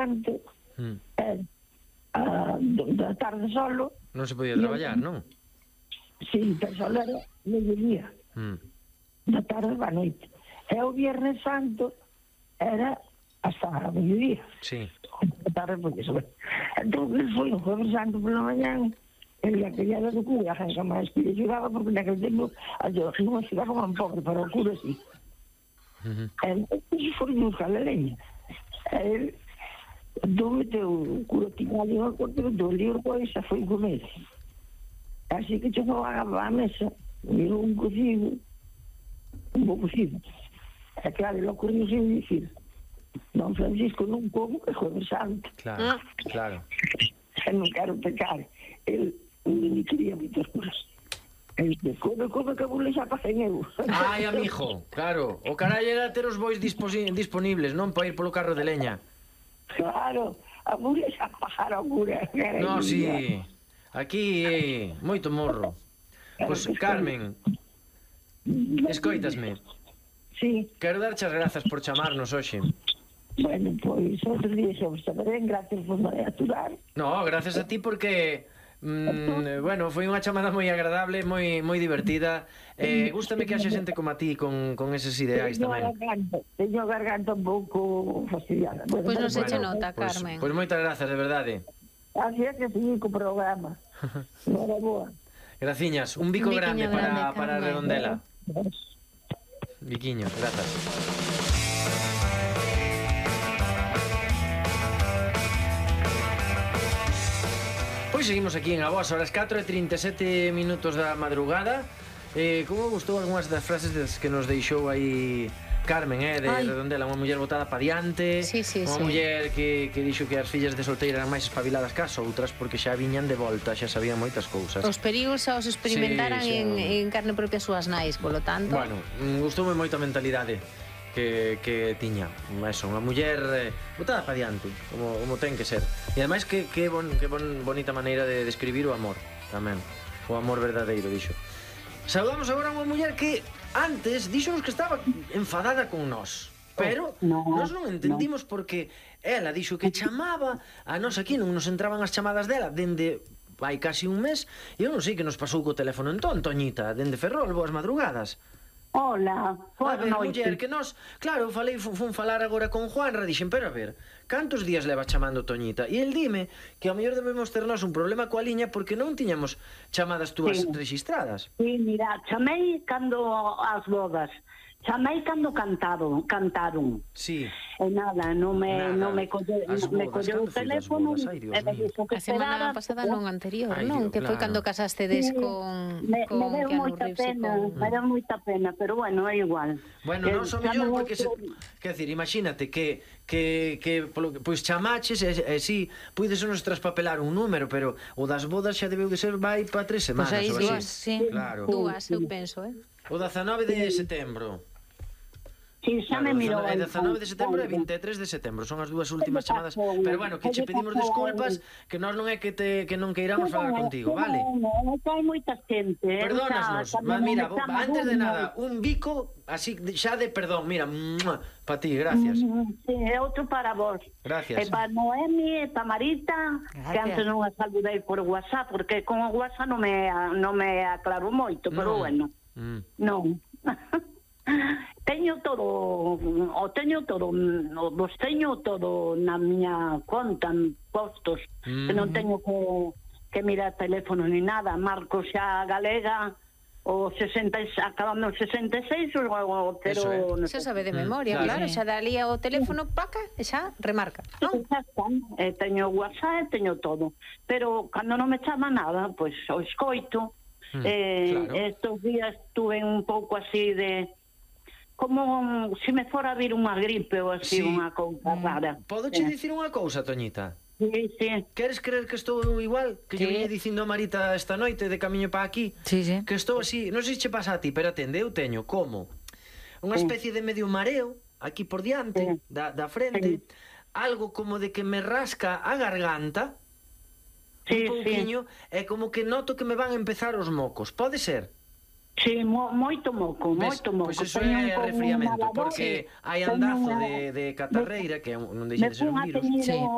antes, da tarde solo. Non se podía traballar, non? Sí, pero solo era mediodía. Da tarde a noite. E o Viernes Santo era hasta a mediodía. Sí. Da tarde, porque eso. Entón, foi o Jueves Santo pola mañana, e a criada do cura, a gente máis que lle xuraba, porque naquele tempo non me xuraba como pobre, pero o cura sí. E foi buscar a leña. E entón meteu o cura tiña ali unha corte, meteu o libro, pois, xa foi comer. Así que chegou a mesa, mirou un cocido, un bo cocido. E claro, lo ocurriu sin dicir, don Francisco non como que Jueves Santo. Claro, claro. E non quero pecar. El non quería moitas cosas. El que come que vole xa pasen eu. Ai, amigo, claro. O carallo era ter os bois disponibles, non para ir polo carro de leña. Claro, a mule xa pasara o cura. No, sí. Aquí, moito morro. Pois, Carmen, escoitasme. Sí. Quero darche as grazas por chamarnos hoxe. Bueno, pois, outro día xa vos saberén, gracias por me aturar. No, gracias a ti porque... bueno, foi unha chamada moi agradable, moi divertida. Gústame que haxe xente como a ti con eses ideais tamén. Teño a garganta un pouco fastidiada. Pois non se che nota, Carmen. Pois moitas grazas, de verdade. Así é que seguir co programa. Nora boa. Graciñas, un bico grande para Redondela. Biquiño, grazas. Pois seguimos aquí en A Voz, horas 4:37 minutos da madrugada. Como gustou algunhas das frases que nos deixou aí Carmen, de Redondela, unha muller botada pa diante, unha muller que dixo que as fillas de solteira eran máis espabiladas que as outras porque xa viñan de volta, xa sabían moitas cousas. Os perigos xa os experimentaran en carne propia súas nais, polo tanto. Bueno, gustoume moito a mentalidade que tiña. Eso, unha muller botada pa diante, como ten que ser. E ademais que bonita maneira de describir o amor tamén. O amor verdadeiro, dixo. Saudamos agora a unha muller que antes dixonos que estaba enfadada con nós, pero nós non entendimos porque ela dixo que chamaba a nós aquí, non nos entraban as chamadas dela dende hai casi un mes, e eu non sei que nos pasou co teléfono entón, Toñita, dende Ferrol, boas madrugadas. Hola, boas noites. Muller, que nós, claro, fun falar agora con Juanra, dixen, pero a ver, cantos días leva chamando Toñita? E el dime que ao mellor debemos ter nós un problema coa liña porque non tiñamos chamadas túas registradas. Sí, mira, chamei cando as bodas, chamei cando cantaron. Sí. E nada, non me colleu o teléfono. A semana pasada non anterior, non? Que foi cando casastedes con me deu moita pena, me deu moita pena, pero bueno, é igual. Bueno, non son mellor porque quer decir, imagínate que pois chamaches e si puides nos traspapelar un número, pero o das bodas xa debeu de ser vai para 3 semanas ou así. Claro. Dúas, eu penso, O 19 de setembro. Sí, xa me mirou. É 19 de setembro e 23 de setembro. Son as dúas últimas chamadas. Pero bueno, que che pedimos desculpas, que nós non é que non queiramos falar contigo, vale? Non, hai moita xente. Perdónanos, mas mira, antes de nada, un bico así xa de perdón, mira, para ti, gracias. Sí, é outro para vos. Gracias. E para Noemi, e para Marita, que antes non a saludei por WhatsApp, porque con o WhatsApp non me aclaro moito, pero bueno. Non. Teño todo, vos teño todo na miña conta, postos, que non teño que mirar teléfono ni nada. Marco xa galega, o 66, acabando o 66, pero... Xa sabe de memoria, claro, xa dalía o teléfono, paca, e xa remarca, non? Teño WhatsApp, teño todo, pero cando non me chama nada, pois o escoito. Estos días tuve un pouco así de... como se me fora a vir unha gripe ou así, unha cousa rara. Podo che dicir unha cousa, Toñita? Sí. Queres creer que estou igual? Que yo viña dicindo a Marita esta noite de camiño para aquí? Sí. Que estou así, non sei se che pasa a ti, pero atende, eu teño como unha especie de medio mareo aquí por diante, da frente, algo como de que me rasca a garganta, un pouquiño, e como que noto que me van a empezar os mocos. Pode ser? Sí, moito moco. Pois iso é resfriamento, porque hai andazo de catarreira, que non deixa de ser un virus.